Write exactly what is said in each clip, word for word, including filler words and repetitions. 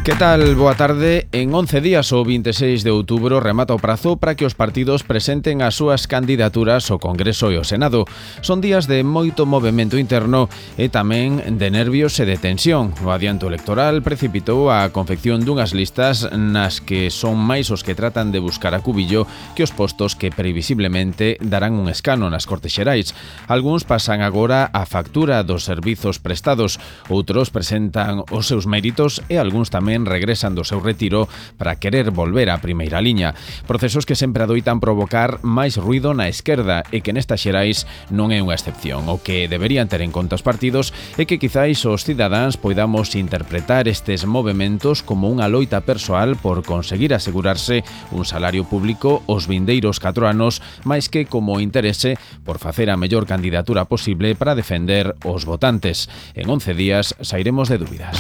Que tal? Boa tarde. En once días, o vinte e seis de outubro, remata o prazo para que os partidos presenten as súas candidaturas ao Congreso e ao Senado. Son días de moito movemento interno e tamén de nervios e de tensión. O adianto electoral precipitou a confección dunhas listas nas que son máis os que tratan de buscar a cubillo que os postos que previsiblemente darán un escano nas Cortes Xerais. Algúns pasan agora a factura dos servizos prestados, outros presentan os seus méritos e algúns tamén regresan do seu retiro para querer volver á primeira liña. Procesos que sempre adoitan provocar máis ruido na esquerda e que nestas xerais non é unha excepción. O que deberían ter en conta os partidos é que quizáis os cidadáns poidamos interpretar estes movementos como unha loita persoal por conseguir asegurarse un salario público os vindeiros catro anos, máis que como interese por facer a mellor candidatura posible para defender os votantes. En once días sairemos de dúbidas.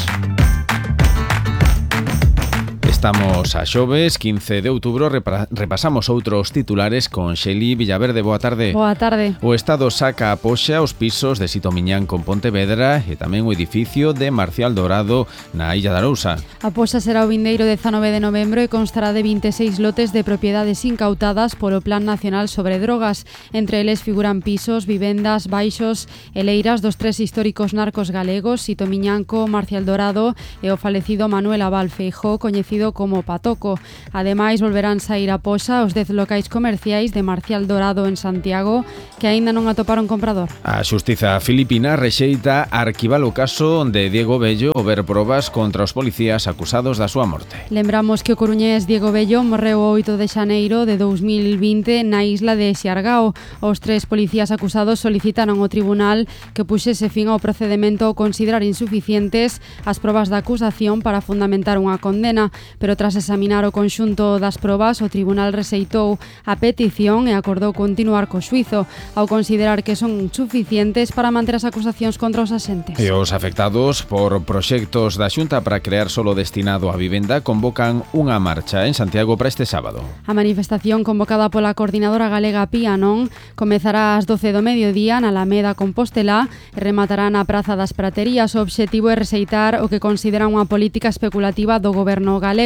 Estamos a xoves, quince de outubro, repasamos outros titulares con Xeli Villaverde. Boa tarde. Boa tarde. O Estado saca a poxa os pisos de Sito Miñán con Pontevedra e tamén o edificio de Marcial Dorado na Illa de Arousa. A poxa será o vindeiro dezanove de novembro e constará de vinte e seis lotes de propiedades incautadas polo Plan Nacional sobre Drogas. Entre eles figuran pisos, vivendas, baixos e leiras dos tres históricos narcos galegos, Sito Miñanco, Marcial Dorado e o falecido Manuel Abal Feijóo, coñecido como Patoco. Ademais, volverán sair a poxa os dez locais comerciais de Marcial Dorado en Santiago que aínda non atoparon comprador. A xustiza filipina rexeita arquivar o caso de Diego Bello ao ver probas contra os policías acusados da súa morte. Lembramos que o coruñés Diego Bello morreu o oito de xaneiro de dous mil vinte na isla de Xiargao. Os tres policías acusados solicitaron ao tribunal que puxese fin ao procedemento ao considerar insuficientes as probas da acusación para fundamentar unha condena. Pero tras examinar o conxunto das probas, o tribunal rexeitou a petición e acordou continuar co xuízo, ao considerar que son suficientes para manter as acusacións contra os axentes. E os afectados por proxectos da Xunta para crear solo destinado á vivenda convocan unha marcha en Santiago para este sábado. A manifestación convocada pola coordinadora galega Pianon comezará ás doce do mediodía na Alameda Compostela e rematará na Praza das Praterías. O obxectivo é rexeitar o que considera unha política especulativa do goberno galego.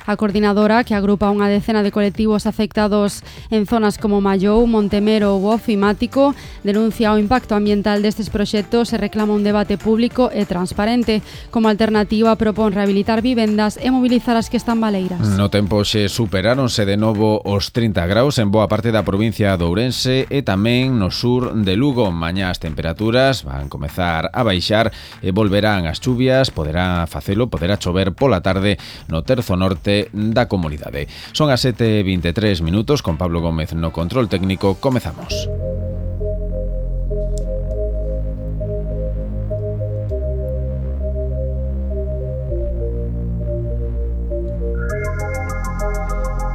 A coordinadora, que agrupa unha decena de colectivos afectados en zonas como Mallou, Montemero ou Ofimático, denuncia o impacto ambiental destes proxectos e reclama un debate público e transparente. Como alternativa, propón rehabilitar vivendas e mobilizar as que están baleiras. No tempo xe superáronse de novo os trinta graus en boa parte da provincia de Ourense e tamén no sur de Lugo. Mañá as temperaturas van comezar a baixar e volverán as chuvias, poderá facelo, poderá chover pola tarde no terzo norte da comunidade. Son as sete e vinte e tres minutos, con Pablo Gómez no control técnico. Comezamos.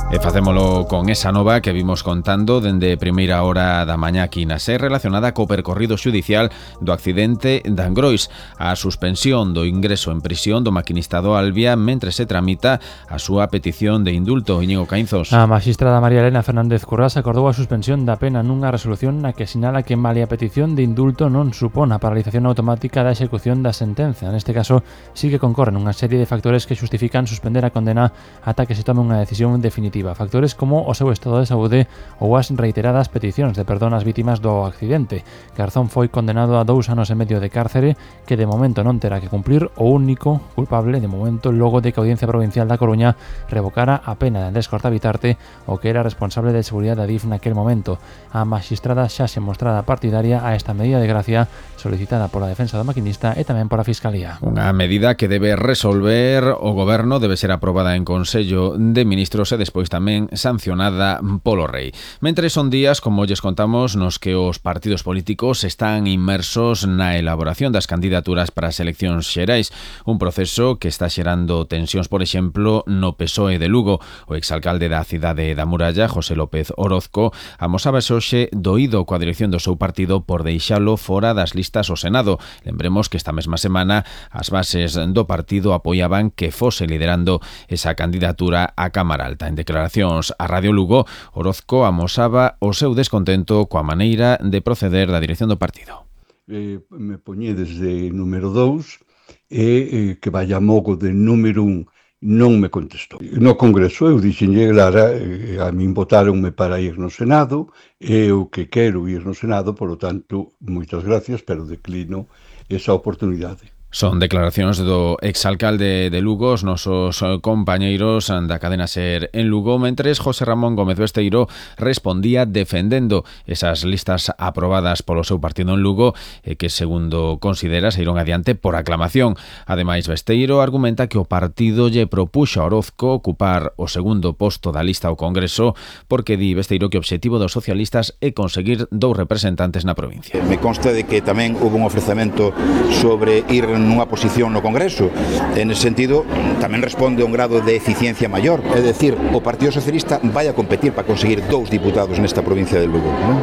E facémolo con esa nova que vimos contando dende primeira hora da mañá aquí na SER, relacionada co percorrido xudicial do accidente de Angrois, a suspensión do ingreso en prisión do maquinista do Albia mentre se tramita a súa petición de indulto. Íñigo Caínzos. A magistrada María Elena Fernández Currás acordou a suspensión da pena nunha resolución na que sinala que malia a petición de indulto non supón a paralización automática da execución da sentenza. Neste caso, sí que concorren unha serie de factores que xustifican suspender a condena ata que se tome unha decisión definitiva. Factores como o seu estado de saúde ou as reiteradas peticións de perdón ás vítimas do accidente. Garzón foi condenado a dous anos e medio de cárcere que de momento non terá que cumplir o único culpable de momento logo de que a Audiencia Provincial da Coruña revocara a pena de Andrés Cortavitarte, o que era responsable de seguridade da D I F naquel momento. A magistrada xa se mostrada partidaria a esta medida de gracia solicitada pola defensa do maquinista e tamén pola Fiscalía. Unha medida que debe resolver o Goberno, debe ser aprobada en Consello de Ministros e despois tamén sancionada polo Rei. Mentre son días, como lles contamos, nos que os partidos políticos están inmersos na elaboración das candidaturas para as eleccións xerais, un proceso que está xerando tensións, por exemplo, no P S O E de Lugo. O exalcalde da cidade da Muralla, José López Orozco, amosábase hoxe doído coa dirección do seu partido por deixalo fora das listas ao Senado. Lembremos que esta mesma semana as bases do partido apoiaban que fose liderando esa candidatura á Cámara Alta. En declaracións a Radio Lugo, Orozco amosaba o seu descontento coa maneira de proceder da dirección do partido. Eh, me poñedes de número dous e eh, que vaya mogo de número un non me contestou. No Congreso eu dixenlle, Lara, a min votáronme para ir no Senado, e o que quero ir no Senado, polo tanto, moitas gracias, pero declino esa oportunidade. Son declaracións do exalcalde de Lugo, os nosos compañeiros da cadena SER en Lugo, mentres José Ramón Gómez Besteiro respondía defendendo esas listas aprobadas polo seu partido en Lugo e que, segundo considera, se iron adiante por aclamación. Ademais, Besteiro argumenta que o partido lle propuxo a Orozco ocupar o segundo posto da lista ao Congreso porque di Besteiro que o obxectivo dos socialistas é conseguir dous representantes na provincia. Me consta de que tamén houve un ofrecemento sobre ir nunha posición no Congreso. En ese sentido, tamén responde a un grado de eficiencia maior. É dicir, o Partido Socialista vai a competir para conseguir dous diputados nesta provincia de Lugo, non?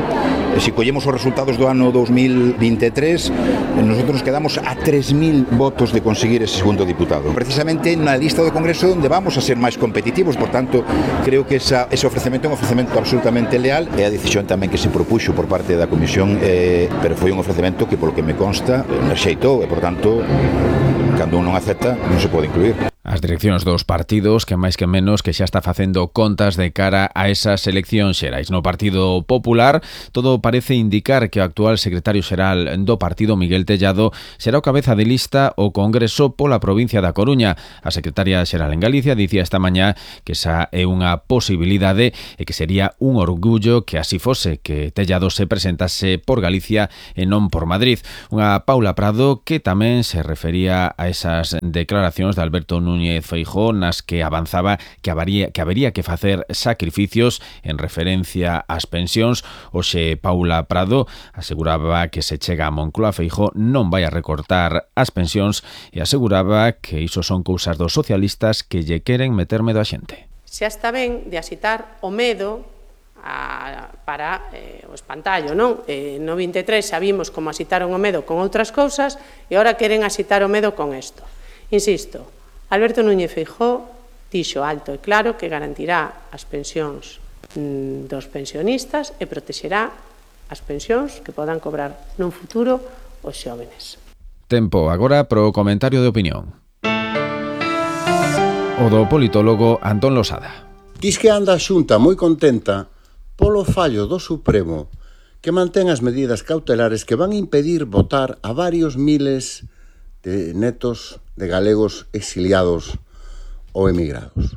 E se collemos os resultados do ano dos mil vinte e tres, nosotros nos quedamos a tres mil votos de conseguir ese segundo diputado. Precisamente na lista do Congreso onde vamos a ser máis competitivos, por tanto, creo que esa, ese ofrecemento é un ofrecemento absolutamente leal, e a decisión tamén que se propuxo por parte da Comisión, eh, pero foi un ofrecemento que, polo que me consta, rexeitou, e, por tanto, cando un non acepta, non se pode incluir. As direccións dos partidos, que máis que menos que xa está facendo contas de cara a esas eleccións xerais. No Partido Popular, todo parece indicar que o actual secretario xeral do partido, Miguel Tellado, será o cabeza de lista ao Congreso pola provincia da Coruña. A secretaria xeral en Galicia dicía esta mañá que esa é unha posibilidade e que sería un orgullo que así fose, que Tellado se presentase por Galicia e non por Madrid. Unha Paula Prado que tamén se refería a esas declaracións de Alberto Núñez Núñez Feijóo, nas que avanzaba que habería, que habería que facer sacrificios en referencia ás pensións. Hoxe Paula Prado aseguraba que se chega a Moncloa, Feijóo non vai a recortar as pensións e aseguraba que iso son cousas dos socialistas que lle queren meter medo a xente. Xa está ben de asitar o medo a, para eh, o espantallo, non? Eh, no vinte e tres xa vimos como asitaron o medo con outras cousas e agora queren asitar o medo con isto. Insisto, Alberto Núñez Feijóo dixo alto e claro que garantirá as pensións mm, dos pensionistas e protexerá as pensións que podan cobrar nun futuro os xóvenes. Tempo agora pro comentario de opinión. O do politólogo Antón Losada. Diz que anda a Xunta moi contenta polo fallo do Supremo que mantén as medidas cautelares que van impedir votar a varios miles de netos de galegos exiliados ou emigrados.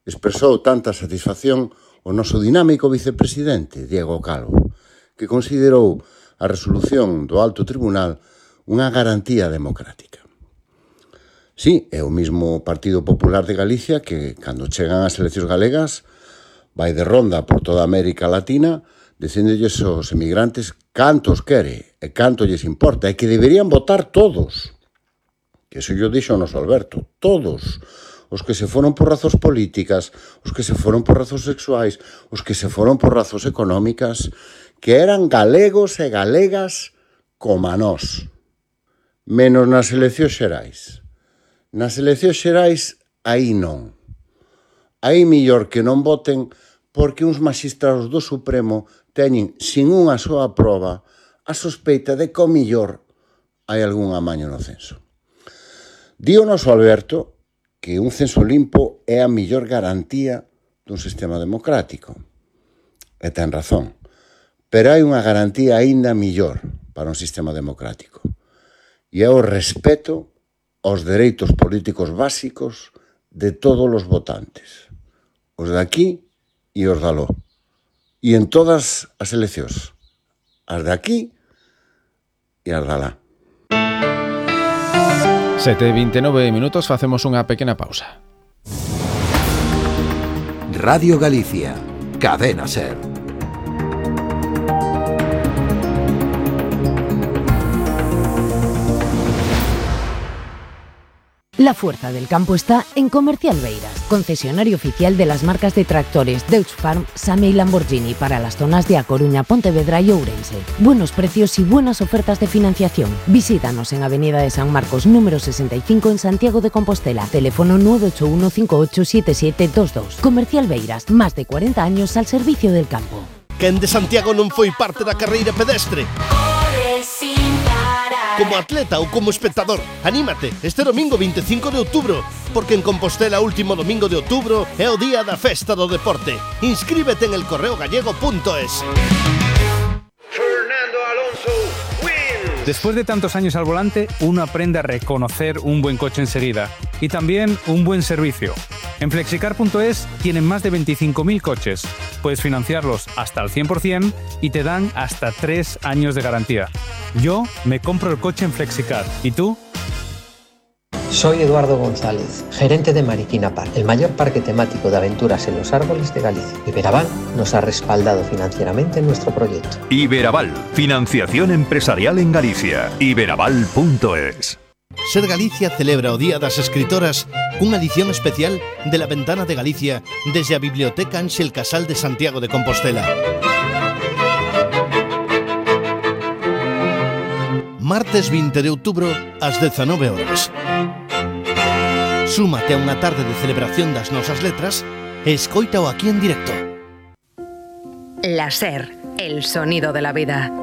Expresou tanta satisfacción o noso dinámico vicepresidente, Diego Calvo, que considerou a resolución do Alto Tribunal unha garantía democrática. Sí, é o mismo Partido Popular de Galicia que, cando chegan as eleccións galegas, vai de ronda por toda América Latina dicéndolles aos emigrantes cantos quere e canto lles importa e que deberían votar todos. Que eso yo dixo o noso Alberto, todos, os que se foron por razóns políticas, os que se foron por razóns sexuais, os que se foron por razóns económicas, que eran galegos e galegas como a nós, menos nas eleccións xerais. Nas eleccións xerais, aí non. Aí millor que non voten porque uns magistrados do Supremo teñen, sin unha soa proba, a sospeita de que o millor hai algún amaño no censo. Di o noso Alberto que un censo limpo é a millor garantía dun sistema democrático. E ten razón. Pero hai unha garantía aínda millor para un sistema democrático. E é o respeto aos dereitos políticos básicos de todos os votantes. Os de aquí e os de aló. E en todas as eleccións. As de aquí e as de alá. sete e vinte e nove minutos, facemos unha pequena pausa. Radio Galicia, Cadena SER. La fuerza del campo está en Comercial Beiras, concesionario oficial de las marcas de tractores Deutz Farm, Same y Lamborghini para las zonas de A Coruña, Pontevedra y Ourense. Buenos precios y buenas ofertas de financiación. Visítanos en Avenida de San Marcos, número sesenta y cinco en Santiago de Compostela. Teléfono nueve ocho uno cinco ocho siete siete dos dos. Comercial Beiras, más de cuarenta años al servicio del campo. Quen de Santiago non foi parte da carreira pedestre? como atleta ou como espectador. Anímate este domingo veinticinco de outubro, porque en Compostela último domingo de outubro é o día da festa do deporte. Inscríbete en el correo gallego punto es. Después de tantos años al volante, uno aprende a reconocer un buen coche enseguida y también un buen servicio. En flexicar punto es tienen más de veinticinco mil coches. Puedes financiarlos hasta al cien por ciento y te dan hasta tres años de garantía. Yo me compro el coche en Flexicar. ¿Y tú? Soy Eduardo González, gerente de Mariquina Park, el mayor parque temático de aventuras en los árboles de Galicia. Iberaval nos ha respaldado financieramente en nuestro proyecto. Iberaval, financiación empresarial en Galicia. Iberaval punto es. Ser Galicia celebra o Día das Escritoras cunha edición especial de La Ventana de Galicia desde a Biblioteca Ángel Casal de Santiago de Compostela. Martes veinte de outubro ás dezanove horas. Súmate a unha tarde de celebración das nosas letras e escoítao aquí en directo. La SER, el sonido de la vida.